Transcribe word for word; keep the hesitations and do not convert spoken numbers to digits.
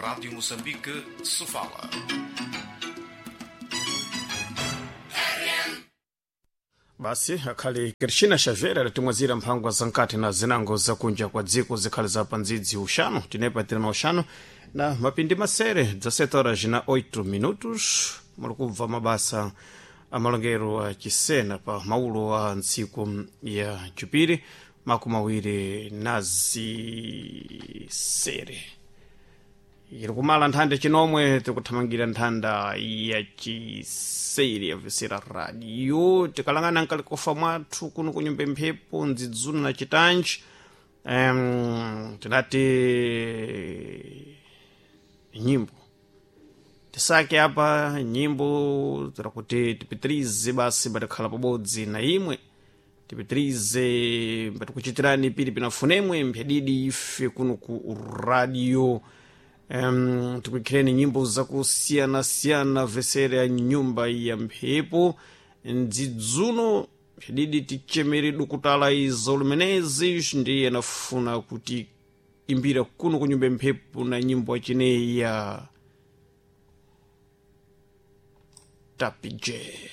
Rádio Moçambique, Sofala. Basi akhali Krishina Xavier alitimwazira mphangwa zankati na zinango zakunja kwa dziko zikhali za pandzidzi uxanu tinepatira na uxanu na mapindi masere dezessete horas na oito minutos. Muli kubva mabasa amalongero a Chisena pa maulo a ntsiku ya Jupiri makumi awiri na zisere iri kumala nthanda chinomwe tikuthamangira nthanda ya chiseri yabvesera radio tikalangana nkalikofa mwathu kuno kunyumba mphepo ndzidzuna na chitanji um, tinati nyimbo tisake apa nyimbo tirakuti tipitirize basi batikhala pabodzi na imwe tipitirize batikuchitirani pili pinafunemwe mphyadidi ife kuno ku radio um, tikuikhireni nyimbo zakusiyanasiyana vesere ya nyumba ya mphepo ndzidzuno mphyadidi tichemere dukutala izo lumenezi ndiye anafuna kuti imbira kuno kunyumba ya mphepo na nyimbo achineyi ya Tapije.